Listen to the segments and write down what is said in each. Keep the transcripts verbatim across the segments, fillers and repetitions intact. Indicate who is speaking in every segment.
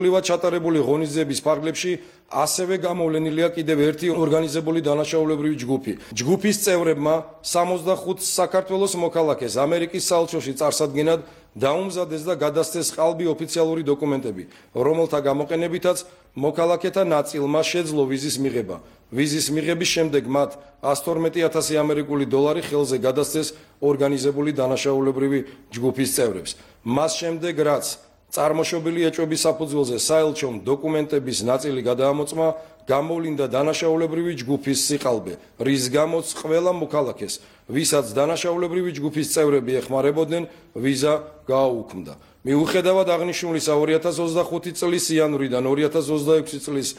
Speaker 1: პრივატ ჩატარებული ღონისძიების ფარგლებში ასევე გამოვლენილია კიდევ ერთი ორგანიზებული დანაშაულებრივი ჯგუფი. ჯგუფის წევრებმა სამოცდახუთ საქართველოს მოქალაქეს ამერიკის საელჩოში წარსადგენად დაუმზადეს და გადასცეს ყალბი ოფიციალური დოკუმენტები, რომელთა გამოყენებითაც მოქალაქეთა ნაწილმა შეძლო ვიზის მიღება. ვიზის მიღების შემდეგ მათ ათას თორმეტი ათასი ამერიკული დოლარი ხელზე გადასცეს ორგანიზებული დანაშაულებრივი ჯგუფის წევრებს. მას შემდეგ რაც წარმოშობილი ეჭვების საფუძველზე საელჩომ დოკუმენტების ნაწილი გადაამოწმა, გამოვლინდა დანაშაულებრივი ჯგუფის სიყალბე, რის გამოც ყველა მოქალაქეს, ვისაც დანაშაულებრივი ჯგუფის წევრები ეხმარებოდნენ, ვიზა გააუქმდა. მიუხედავად აღნიშნულისა, ორი ათას ოცდახუთი წლის იანვრიდან ორი ათას ოცდაექვსი წლის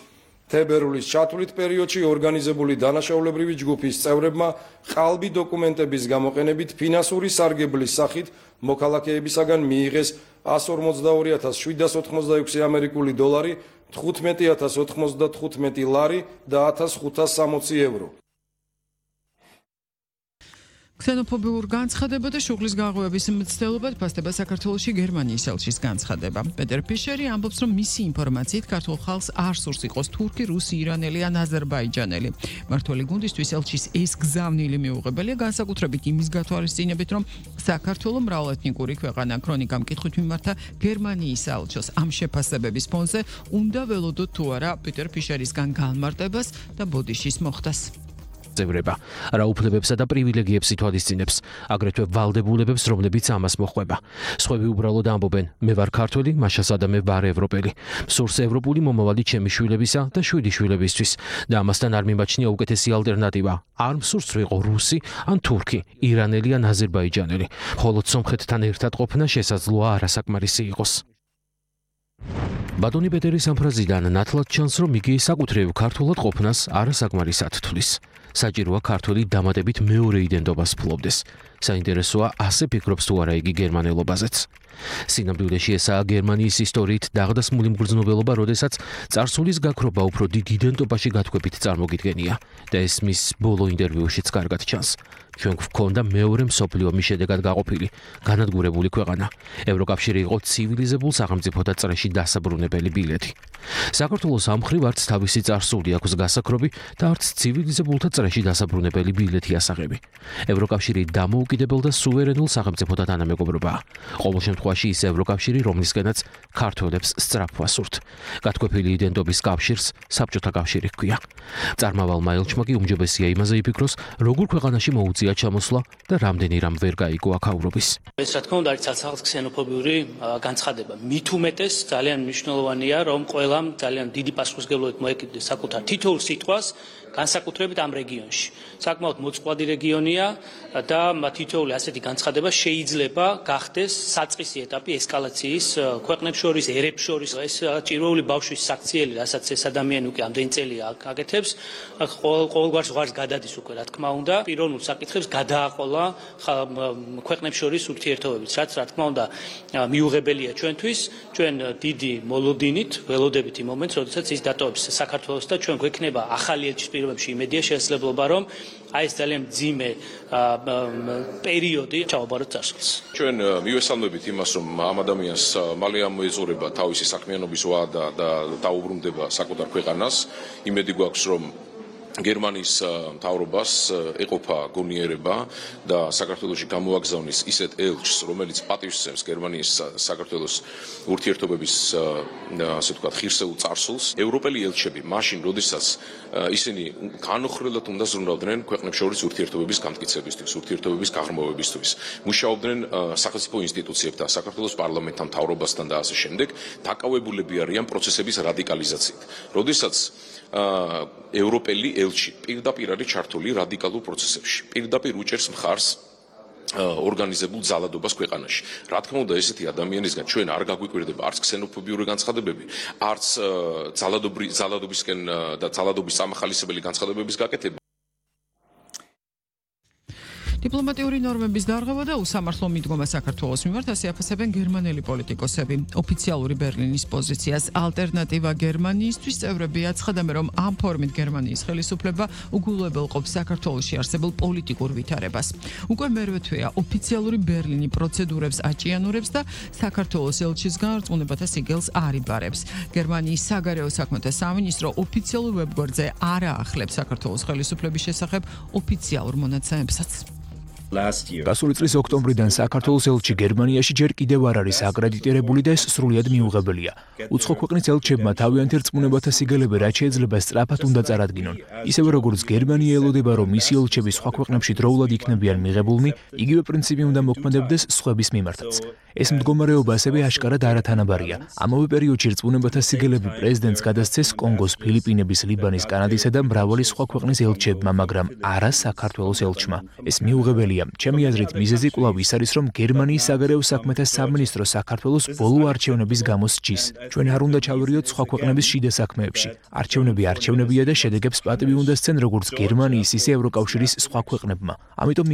Speaker 1: თებერვლის ჩათვლით პერიოდში ორგანიზებული დანაშაულებრივი ჯგუფის წევრებმა ყალბი დოკუმენტების გამოყენებით ფინანსური სარგებლის სახით მოქალაქეებისაგან მიიღეს ათას ორმოცდაორი ათას შვიდას ოთხმოცდაექვსი ამერიკული დოლარი, თხუთმეტი ათას ოთხმოცდათხუთმეტი ლარი და ათას ხუთას სამოცი ევრო.
Speaker 2: ქსენოფობიურ განცხადება და შუღლის გაღვივების მცდელობად ფასდება საქართველოში გერმანიის ელჩის განცხადება. პეტერ ფიშერი ამბობს, რომ მისი ინფორმაციით ქართულ ხალხს არ სურს იყოს თურქი, რუსი, ირანელი ან აზერბაიჯანელი. მმართველი გუნდისთვის ელჩის ეს გზავნილი მიუღებელია განსაკუთრებით იმის გათვალისწინებით, რომ საქართველო მრავალეთნიკური ქვეყანა. ქრონიკამ კითხვით მიმართა გერმანიის საელჩოს ამ შეფასებების ფონზე უნდა ველოდოთ თუ არა პეტერ ფიშერისგან განმარტებას და ბოდიშის მოხდას.
Speaker 3: წევრება რა უფლებებსა და პრივილეგიებს ითვალისწინებს, აგრეთვე ვალდებულებებს, რომლებიც ამას მოხვება. სხვები უბრალოდ ამბობენ, მე ვარ ქართველი, მაშასა და მე ვარ ევროპელი. სურს ევროპული მომავალი ჩემი შვილებისა და შვიდი შვილებისთვის და ამასთან არ მიმაჩნია უკეთესი ალტერნატივა. არ მსურს ვიყო რუსი ან თურქი, ირანელი ან აზერბაიჯანელი. მხოლოდ სომხეთთან ერთად ყოფნა შესაძლოა არასაკმარისი იყოს. ბატონი პეტერის ამ ფრაზიდან ნათლად ჩანს, რომ იგი საკუთრივ ქართულად ყოფნას არასაკმარისად თვლის. საჭიროა ქართული დამატებით მეორე იდენტობას ფლობდეს. საინტერესოა, ასე ფიქრობს თუ არა იგი გერმანელობაზეც. სინამდვილეში ესაა გერმანიის ისტორიით დაღდასმული მგრძნობელობა, როდესაც წარსულის გაქრობა უფრო დიდ იდენტობაში გათქვებით წარმოგიდგენია და ეს მის ბოლო ინტერვიუშიც კარგად ჩანს. ჩვენ გვქონდა მეორე მსოფლიო ომის შედეგად გაყოფილი, განადგურებული ქვეყანა. ევროკავშირი იყო ცივილიზებულ სახელმწიფოთა წრეში დასაბრუნებელი ბილეთი. საქართველოს ამ მხრივ არც თავისი წარსული აქვს გასაქრობი და არც ცივილიზებულთა წრეში დასაბრუნებელი ბილეთი ასაღები. ევროკავშირი დამოუკიდებელ და სუვერენულ სახელმწიფოთა თანამეგობრობაა. ყოველ შემთხვევაში ის ევროკავშირი, რომლისკენაც ქართველებს სწრაფვა სურთ. გათქვეფილი იდენტობის კავშირს საბჭოთა კავშირი ჰქვია. წარმავალმა ელჩმა კი უმჯობესია იმაზე იფიქროს, როგორ ქვეყანაში მოუწია ჩამოსვლა და რამდენი რამ ვერ გაიგო აქაურობის.
Speaker 4: ეს რა თქმა უნდა არის ცალ-ცალ ქსენოფობიური განცხადება. მით უმეტეს ძალიან მნიშვნელოვანია, რომ ყველამ ძალიან დიდი პასუხისმგებლობით მოეკიდოს საკუთარ თითოეულ სიტყვას, განსაკუთრებით ამ რეგიონში. საკმაოდ მოწყვლადი რეგიონია და თითოეული ასეთი განცხადება შეიძლება გახდეს საწყისი ეტაპი ესკალაციის ქვეყნებს შორის, ერებს შორის. ეს ჭირვეული ბავშვის საქციელი, რასაც ეს ადამიანი უკვე ამდენი წელია აკეთებს, ყოველგვარ ზღვარს გადადის უკვე, რა თქმა უნდა, პიროვნულ საკითხებს გადააყოლა ქვეყნებს შორის ურთიერთობებს, რაც რა თქმა უნდა მიუღებელია ჩვენთვის. ჩვენ დიდი მოლოდინით ველოდებით იმ მომენტს, როდესაც ის დატოვებს საქართველოს და ჩვენ გვექნება ახალი ელჩის პირობებში იმედია შესაძლებლობა, რომ აი ეს ძალიან მძიმე პერიოდი ჩავაბაროთ წარსულს.
Speaker 5: ჩვენ მივესალმებით იმას, რომ ამ ადამიანს მალე ამოეწურება თავისი საქმიანობის ვადა და დაუბრუნდება საკუთარ ქვეყანას. იმედი გვაქვს, რომ გერმანიის მთავრობას ეყოფა გონიერება და საქართველოში გამოაგზავნის ისეთ ელჩს, რომელიც პატივსცემს გერმანიის საქართველოს ურთიერთობების ასე ვთქვათ ღირსეულ წარსულს. ევროპელი ელჩები მაშინ, როდესაც ისინი განუხრელად უნდა ზრუნავდნენ ქვეყნებს შორის ურთიერთობების განმტკიცებისთვის, ურთიერთობების გაღრმავებისთვის. მუშაობდნენ სახელმწიფო ინსტიტუციებთან, საქართველოს პარლამენტთან, მთავრობასთან და ასე შემდეგ, დაკავებულები არიან პროცესების რადიკალიზაციით. როდესაც ევროპელი ელჩი პირდაპირ არის ჩართული რადიკალურ პროცესებში. პირდაპირ უჭერს მხარს ორგანიზებულ ძალადობას ქვეყანაში. რა თქმა უნდა, ესეთი ადამიანისგან ჩვენ არ გაგვიკვირდება არც ქსენოფობიური განცხადებები, არც ძალადობისკენ და ძალადობის სამახალისებელი განცხადებების გაკეთება.
Speaker 2: დიპლომატიური ნორმების დარღვევა და უსამართლო მიდგომა საქართველოს მიმართ ასე აფასებენ გერმანელი პოლიტიკოსები. ოფიციალური ბერლინის პოზიციას ალტერნატივა გერმანიისთვის წევრები აცხადებენ, რომ ამ ფორმით გერმანიის ხელისუფლება უგულებელყოფს საქართველოში არსებულ პოლიტიკურ ვითარებას. უკვე მერვე თვეა ოფიციალური ბერლინი პროცედურებს აჭიანურებს და საქართველოს ელჩის განარწმუნებათა სიგელს არ იბარებს. გერმანიის საგარეო საქმეთა სამინისტრო ოფიციალურ ვებგვერდზე არ აახლებს საქართველოს ხელისუფლების შესახებ ოფიციალურ მონაცემებსაც.
Speaker 6: გასული წლის ოქტომბრიდან საქართველოს ელჩი გერმანიაში ჯერ კიდევ არ არის აკრედიტირებული და ეს სრულიად მიუღებელია. უცხო ქვეყნის ელჩებმა თავიანთი რწმუნებათა სიგელები რაც შეიძლება სწრაფად უნდა წარადგინონ. ისევე როგორც გერმანია ელოდება, რომ მისი ელჩები სხვა ქვეყნებში დროულად იქნებიან მიღებულნი, იგივე პრინციპი უნდა მოქმედებდეს სხვების მიმართაც. ეს მდგომარეობა ასევე აშკარად არათანაბარია. ამავე პერიოდში რწმუნებათა სიგელები პრეზიდენტს გადასცეს კონგოს, ფილიპინების, ლიბანის, კანადისა და მრავალი სხვა ქვეყნის ელჩებმა, მაგრამ არა საქართველოს ელჩმა. ეს მიუღებელია. ჩემი აზრით, მიზეზი კვლავ ის არის, რომ გერმანიის საგარეო საქმეთა სამინისტრო საქართველოს ბოლო არჩევნების გამო სჯის. ჩვენ არ უნდა ჩავერიოთ სხვა ქვეყნების შიდა საქმეებში. არჩევნები არჩევნებია და შედეგებს პატივი უნდა სცენ როგორც გერმანიის, ისე ევროკავშირის სხვა ქვეყნებმა. ამიტომ